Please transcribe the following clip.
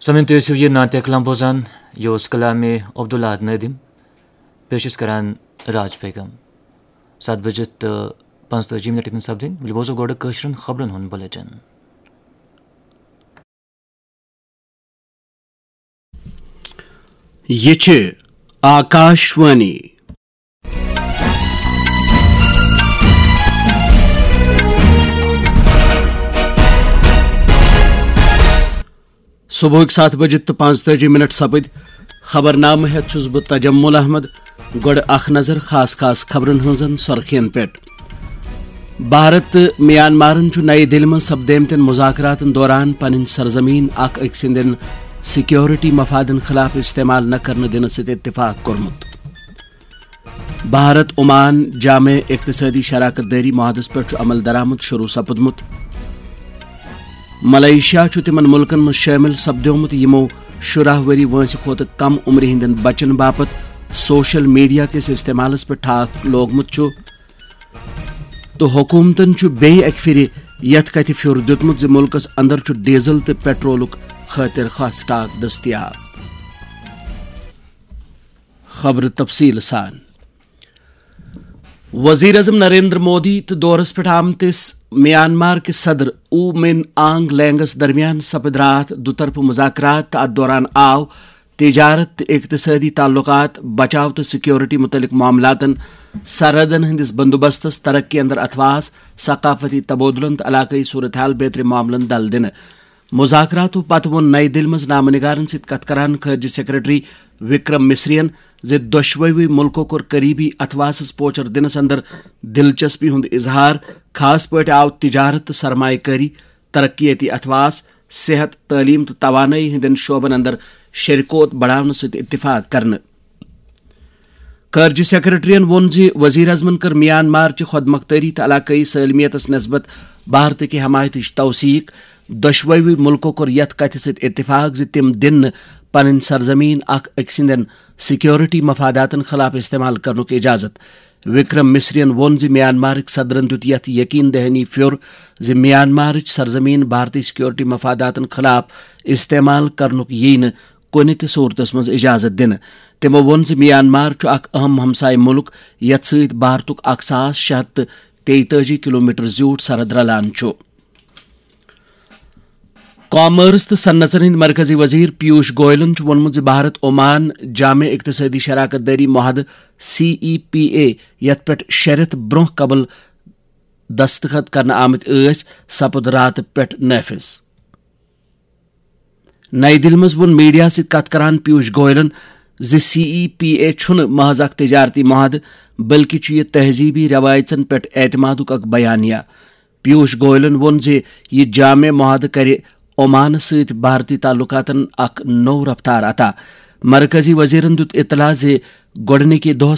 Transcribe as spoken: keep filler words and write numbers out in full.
سامعین، تُہۍ ٲسِو یہِ نعتِ کلام بوزان، یہِ اوس کلامِ عبداللہ نٲدِم، پیش ٲسۍ کران راج بیگم۔ ستھ بجہِ تہٕ پانٛژتٲجی منٹ ہیٚتن سپدٕنۍ۔ وۄنۍ بوزو گۄڈٕ کٲشرٮ۪ن خبرن ہُنٛد بلیٹن۔ یہِ چھِ آکاش وانی۔ صبحٕکۍ ستھ بجہِ تہٕ پانٛژتٲجی منٹ سپٕدۍ۔ خبرنامہٕ ہٮ۪تھ چھُس بہٕ تجمل احمد۔ گۄڈٕ اکھ نظر خاص خاص خبرن ہٕنٛزن سۄرخین پٮ۪ٹھ۔ بھارت تہٕ میانمارن چھُ نَیہِ دِلہِ منٛز سپدیمتٮ۪ن مذاکراتن دوران پنٕنۍ سرزمین اکھ أکۍ سٕنٛدٮ۪ن سیکیورٹی مفادن خلاف استعمال نہ کرنہٕ دِنہٕ سۭتۍ اتفاق کوٚرمُت۔ بھارت عمان جامع اقتصٲدی شراکت دٲری معاہدس پٮ۪ٹھ چھُ عمل درآمد شروع سپُدمُت۔ ملائیشیا چھُ تِمن مُلکن منٛز شٲمِل سپدیومُت، یِمو شُراہ ؤری وٲنٛسہِ کھۄتہٕ کم عمرِ ہٕنٛدٮ۪ن بچن باپتھ سوشل میڈیا کِس استعمالس پٮ۪ٹھ ٹھاکھ لوگمُت چھُ، تہٕ حکوٗمتن چھُ بیٚیہِ اکہِ پھِرِ یتھ کتھِ پھیُر دیُتمُت زِ مُلکس اندر چھُ ڈیزل تہٕ پیٹرولُک خٲطرٕ خاص سٹاک دٔستیاب۔ خبرٕ تفصیٖل سان۔ وزیر اعظم نریندر مودی تہٕ دورس پٮ۪ٹھ آمتِس میانمار کِس صدر او مِن آنگ لینگس درمیان سپٕدۍ راتھ دُطرفہٕ مذاکرات تہٕ اتھ دوران آو تجارت تہٕ اقتصٲدی تعلقات، بچاو تہٕ سیکیورٹی متعلق معاملاتن، سرحدن ہٕنٛدِس بندوبستس، ترقی اندر اتھواس، ثقافتی تبادلن تہٕ علاقٲیی صورتحال بیترِ معاملن دل دِنہٕ۔ مذاکراتو پتہٕ ووٚن نَیہِ دِلہِ منٛز نامہ نگارن سۭتۍ کتھ کران خارجہ سیکرٹری وکرم مصرین زِ دۄشوٕے مُلکو کوٚر قریبی اتھواسس پوچر دِنس اندر دلچسپی ہُنٛد اظہار۔ خاص پٲٹھۍ آو تجارت تہٕ سرمایہ کٲری، ترقیتی اتھواس، صحت، تعلیم تہٕ توانٲیی ہٕنٛدٮ۪ن شعبن اندر شریکوت بڑاونہٕ سۭتۍ اتفاق کرنہٕ۔ خارجہ سیکرٹریَن ووٚن زِ وزیر اعظمَن کٔر میانمارچہِ خۄد مۄختٲری تہٕ علاقٲیی سٲلمیتَس نسبت بھارتٕکہِ حمایتٕچ توثیق۔ دۄشوٕے مُلکو کوٚر یَتھ کَتھِ سۭتۍ اتفاق زِ تِم دِن نہٕ پنٕنۍ سرزمین اکھ أکۍ سٕنٛدٮ۪ن سیکیورٹی مفاداتَن خلاف استعمال کرنُک اجازت۔ وکرم مصرین ووٚن زِ میانمارٕکۍ صدرَن دیُت یَتھ یقین دہانی پھیُر زِ میانمارٕچ سرزمین بھارتی سیکیورٹی مفاداتَن خلاف استعمال کرنُک یِیہِ نہٕ کُنہِ تہِ صورتس منٛز اجازت دِنہٕ۔ تِمو ووٚن زِ میانمار چھُ اکھ اہم ہمسایہِ مُلک، یتھ سۭتۍ بھارتُک اکھ ساس شےٚ ہتھ تہٕ تیتٲجی کلومیٹر زیوٗٹھ سرحد رلان چھُ۔ کامرس تہٕ صنعژن ہٕنٛدۍ مرکزی وزیر پیوش گوئلن چھُ ووٚنمُت زِ بھارت عمان جامع اقتصٲدی شراکت دٲری معاہدٕ، سی ای پی اے، یتھ پٮ۪ٹھ شےٚ رٮ۪تھ برونٛہہ قبل دستخط کرنہٕ آمٕتۍ ٲسۍ، سپُد راتہٕ پٮ۪ٹھ نافذ۔ نَیہِ دِلہِ منٛز ووٚن میڈیا سۭتۍ کتھ کران پیوش گوئلن زِ سی ای پی اے چھُنہٕ محض اکھ تجارتی معاہدٕ، بلکہِ چھُ یہِ تہذیبی رٮ۪وایژن پٮ۪ٹھ اعتمادُک اکھ بیانیہ۔ پیوش گوئلن ووٚن زِ یہِ جامع معاہدٕ کرِ عمانس سۭتۍ بھارتی تعلقاتن اکھ نوٚو رفتار عطا۔ مرکزی وزیرن دیُت اطلاع زِ گۄڈٕنِکہِ دۄہ